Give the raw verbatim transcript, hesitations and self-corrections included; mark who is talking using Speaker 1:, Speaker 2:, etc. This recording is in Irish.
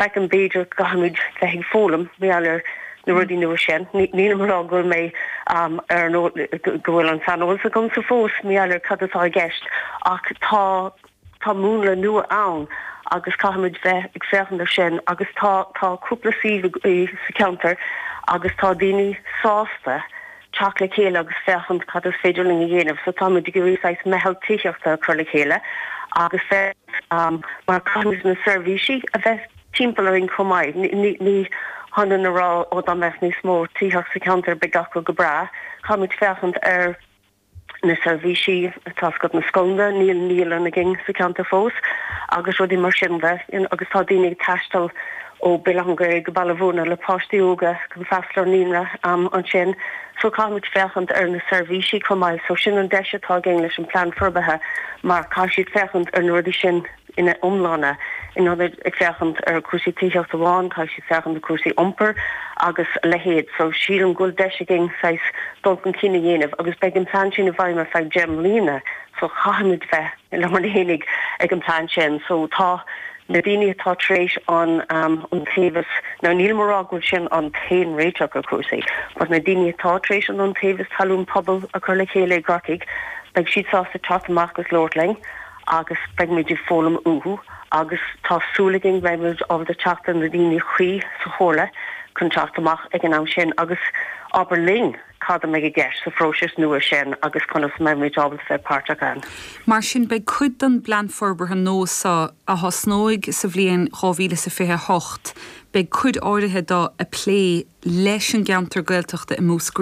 Speaker 1: Feicim b'fhéidir caithfimid bheith ag foghlaim mar gheall ar na rudaí nua sin. Nílim ag rá go bhfuil mé um, ar nó go bhfuil an saineolas agamsa fós mar gheall ar cad atá i gceist ach tá tá múnla nua ann agus caithfimid bheith ag féachaint ar sin agus tá tá cúpla suíomh sa cheantar agus tá daoine sásta teacht le chéile agus féachaint cad is féidir linn a dhéanamh, so táimid ag iarraidh meitheal tithíochta a chur le chéile agus bheith um, mar caithfimid na seirbhísí a bheith timpeall orainn chomh maith. Ní ní hionann a rá ó dá mbeadh níos mó tithíocht sa cheantar beidh gach go breá, Caithfimid féachaint ar na seirbhísí atá agat na scoileanna níl naíolann againn sa cheantar fós agus rudaí mar sin de agus tá daoine ag taisteal ó Bhaile an Ghaeil go Baile Bhúirne le páistí óga chun freastal ar naíonra um, ansin so caithfimid féachaint ar na seirbhísí chomh maith so sin an deis atá againn leis an plean forbartha mar caithfidh siad féachaint ar na rudaí sin ina iomláine in ionad ag féachaint ar cúrsaí tithíochta amháin caithfidh siad féachaint ar cúrsaí iompair agus a leithéid so sílim go bhfuil deis againn saghas dul chun cinn a dhéanamh agus beidh an plean sin i bhfeidhm ar feadh deich mbliana so caithfimid bheith le mar hénig ag an plean sin so tá na daoine atá tar éis an um, iontaobhas ná níl mé ag rá go bhfuil sin an t-aon réiteach ar cúrsaí, but na daoine atá tar éis an iontaobhas talún pobail a chur le chéile i gCorcaigh, beidh siad sásta teacht amach agus labhairt linn agus beidh ag foghlaim uathu agus tá súil againn beimid ábalta teacht ar na daoine cuí sa chomhairle chun teacht amach ag an am sin agus abair linn cad a mbeidh i gceist sa phróiseas nua sin agus conas mbeimid ábalta bheith páirteach ann.
Speaker 2: Mar sin beidh cuid den bplean forbartha nua seo a thosnóidh sa bhliain dhá mhíle is a fiche hocht, beidh cuid áirithe dá a plé leis an gceantar Gaeltachta i Múscraí.